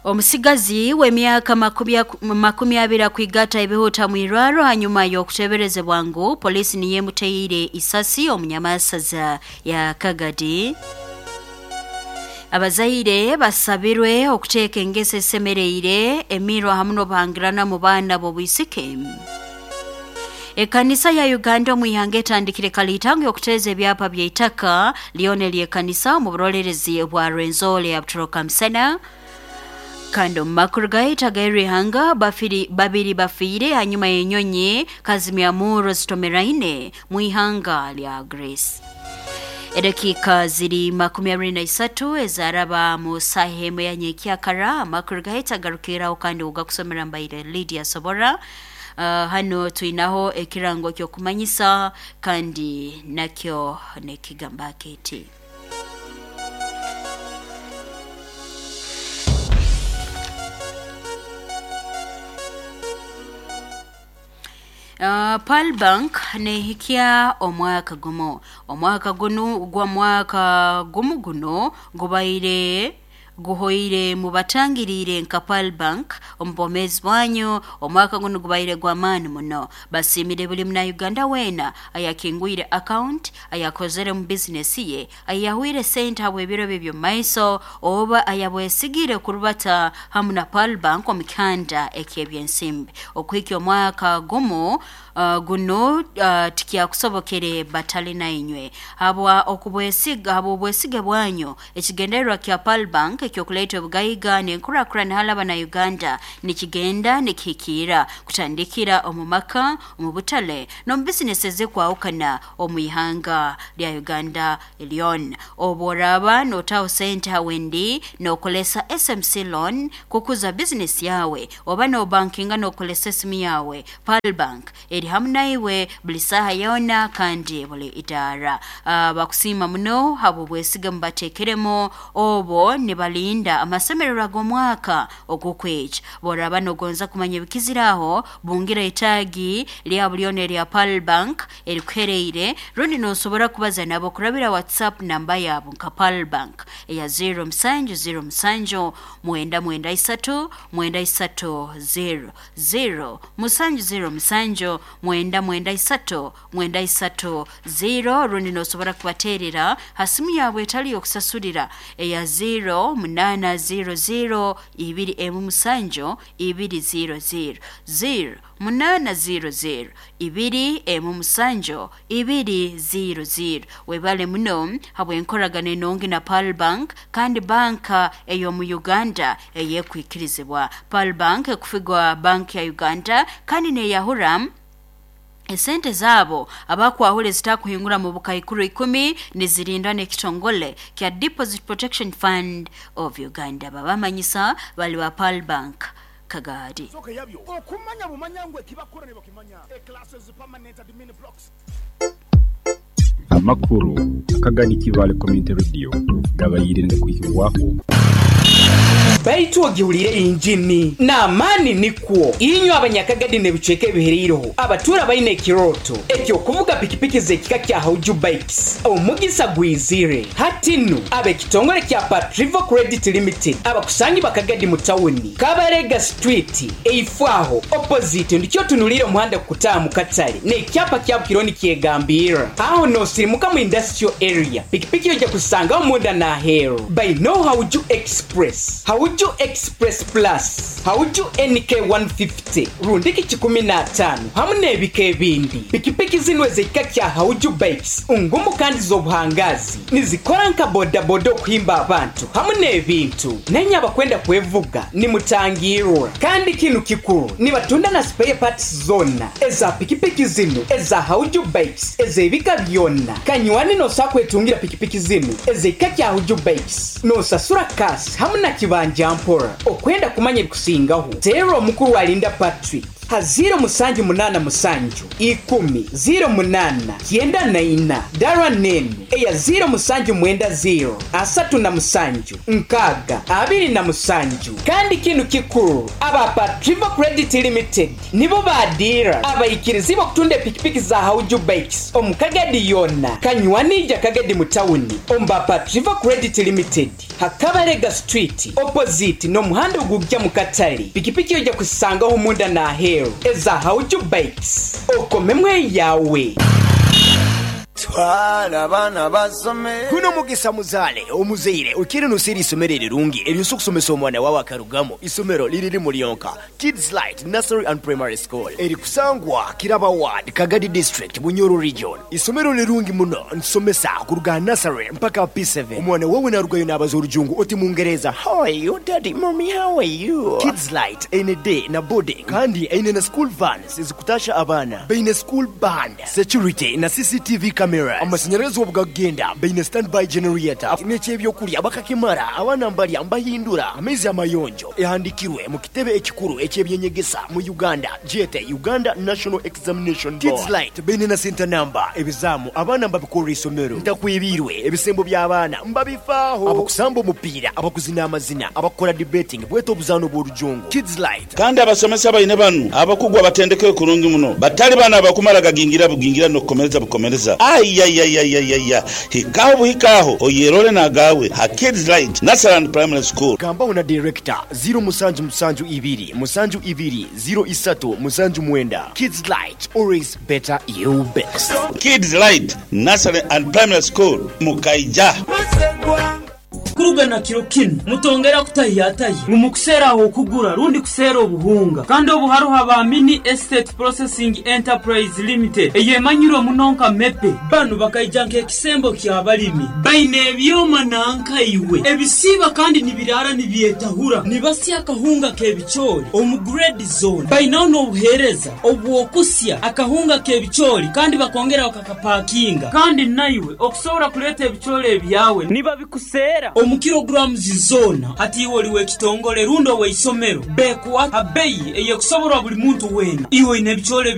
Omusigazi w'emyaka 20 akwigata ebihuta mwirwaro hanyuma y'okuteberezebwa ngu polisi niyo emuteire isasi omu nyamasaza ya Kagadi. Abazaire basabirwe okuteeka engeso esemereire emirwa hamu n'obuhangirana mu baana b'obwisike. Ekanisa ya Uganda omu ihanga etandikire kalitango y'okuteeza ebyapa by'eitaka lyona ery'ekanisa omu burolerezi bwa Rwenzori ya Butoroka Musana. Kandi omu makuru gaitu ag'erihanga babiri bafiire hanyuma y'enyonyi kazimyamurro zitomeraine mu ihanga lya Greece. Edakiika ziri 23 ezaraba mu saaha emu ya nyenkyakara. Amakuru gaitu agarukiraho kandi ogakusomera mbaire Lydia Sobora. Hano twinaho ekirango ky'okumanyisa kandi nakyo nekigamba kiti. Pearl Bank nehikya omwaka gumu. Omwaka gunu gwa mwaka gumu guno gubaire guhoire mubatangiriire nka Pearl Bank omu bwomeezi bwanyu. Omwaka gunu gubaire gw'amaani muno. Basiimire buli Munauganda weena ayakingwire account, ayakozere mu bizinesi ye, ayahwire sente habw'ebiro bye by'omu maiso, oba ayabwesigire kurubata hamu na Pearl Bank omu kihanda eky'ebyensimbi. Okuhikya omwaka gumu guno tikyakusobokere batali nainywe. Habwa okubwesiga habw'obwesige bwanyu, ekigendererwa kya Pearl Bank eky'okuleeta obugaiga n'enkurakurana hali Abanauganda nikigenda nikihikiira kutandikira omu maka, omu butale n'omu bizinesi ezikwahukana omu ihanga lya Uganda lyona. Obu oraaba nootaho sente ha wendi nookozesa SMC loan kukuza bizinesi yawe oba noobankinga nookozesa esimu yawe, Pearl Bank eri hamu naiwe buli saaha yoona kandi buli idaara. Bakusiima muno habw'obwesige mubateekeremu obu nibalinda amasemererwa g'omwaka ogw'okwija. Bw'oraaba noogonza kumanya ebikizire aho, bungira itaagi lya lyona erya Pearl Bank erikuhereire rundi noosobora kubaza nabo kurabira WhatsApp namba yabo nka Pearl Bank eya 0707 993 930 0 707 993 930 rundi noosobora kubateerera ha simu yawe etali y'okusasulira eya 0800 27 200 0 800 27 200. Webale muno habw'enkoragana enungi na Pearl Bank kandi banka ey'omu Uganda ey'ekwikirizibwa. Pearl Bank ekufigwa Bank ya Uganda kandi neeyahura esente zaabo abakwahura ezitakuhingura mu bukaikuru 10 nizirindwa n'ekitongole kya Deposit Protection Fund of Uganda. Babamanyisa bali ba Pearl Bank Kagadi. Okumanya bumanya ngu ekibakora nibakimanya. Classes permanent admin blocks. Amakuru akagani Kibaale Community Radio gabaire nigakwihibwaho. Baitu ogihulire engini n'amaani nikwo. Inywe Abanyakagadi n'ebicweka ebihereireho abatuura baine ekirooto eky'okuvuga pikipiki z'ekika kya Hauju Bikes, omugisa gwizire. Hati nu, ab'ekitongore kya Patrivo Credit Limited abakusangibwa Kagadi mu tawuni, Kabarega Street, eifo aho, opposite, ndikyo otunuliire omuhanda kukutaaha mu katale n'ekyapa kya Bukironi nikyegambirra. Aho n'osirimuka mu Industrial Area, pikipiki oija kuzisangaho munda n'aheeru. Bainegho Hauju Express, Hauju Express Plus, Hauju NK 150, rundiki kikumi n'ataano hamu n'ebika ebindi. Pikipiki zinu ez'ekika kya Hauju Bikes ngumu kandi z'obuhangaazi. Nizikora nka bodaboda okuhimba abantu hamu n'ebintu. Nainye abakwenda kwevuga nimutangirwa. Kandi kinu kikuru, nibatunda na spare parts zoona eza pikipiki zinu eza Hauju Bikes ez'ebika byona. Kanywani noosobola kwetungira pikipiki zinu ez'ekika kya Hauju Bikes noosasura cash hamu na kibanja mpora. Okwenda kumanya ebikusingaho, teerra omukuru Alinda Patrick. Ha 0787 10 08 94. Dara nenu eya 0790 37 6 27. Kandi kinu kikuru, aba Patriva Credit Limited nibo badira abaikirizi bokutunda epikipiki za Hauju Bikes omu Kagadi yona kanywanija Kagadi mu tawuni omu Patriva Credit Limited Hakabarega Street opposite n'omuhanda ogujja mu katale. Pikipiki ojja kusangaho munda n'aheeru eza Hauju Bikes, okomemwe yawe. Twala abaana basome. Guno mugisa muzaale omuzaire oikire noseera eisomero erirungi eryosobola okusomesa omwana wawe akarugamu. Isomero liri limu lyonka, Kids Light Nursery and Primary School, eri kusangwa Kiraba Ward, Kagadi District, Bunyoro Region. Isomero lirungi muno, nsomesa kuruga nursery mpaka P7. Omwana wawe narugayo nabaza orujungu oti Mungereza, how are you daddy, mommy, how are you? Kids Light eine day na boarding, kandi eine na school vans ezikutasha abaana, baine school band, security na CCTV cameras. Amashanyarazi obugagenda baine standby generator, n'ekyebyokulya bakakimara, abaana mbalya mbahindura, amaizi amayonjo. Ehandikirwe mu kitebe ekikuru eky'ebyenyegesa mu Uganda, gyete Uganda National Examination Board. Kids Light baine na center number, ebizamu abaana mbabikorera isomero, ntakwibirwe ebisembo by'abaana mbabifaaho, abakusamba omupiira, abakuzina amazina, abakora debating, bweta obuzaano bw'orujungu. Kids Light. Kandi abasomesa baine banu abakugu abatendekere kurungi muno, batali bana abakumara gagingira bugingira n'okukomereza bukomereza. Ayayayayaya, hikaho buhikaho oyerole nagawe ha Kids Light Nursery and Primary School. Gambaho na director 0772 72 03 79. Kids Light, always better you best. Kids Light Nursery and Primary School Mukaija. Kuruga na kiro kinu mutongera kutahiyatahi ngu mukuseera aho okugura rundi kuseera obuhunga, kandi obu haruho aba Mini Estate Processing Enterprise Limited eyemanyirwe muno nka Mepe. Banu bakaija nk'ekisembo ky'abalimi, baine ebyoma nankaiwe ebisiiba kandi nibiraara nibyetahura, nibasya akahunga k'ebicoori omu grade zone. Bainaho n'obuheereza obw'okusya akahunga k'ebicoori kandi bakongera bakakapakinga, kandi naiwe okusobora kuleeta ebicoori ebyawe nibabikuseera omu kilograms zona. Hati iwe oli w'ekitongole rundi ow'eisomero, bekuwa abeyi eyekusoborwa buli muntu weena. Iwe oine ebicoori.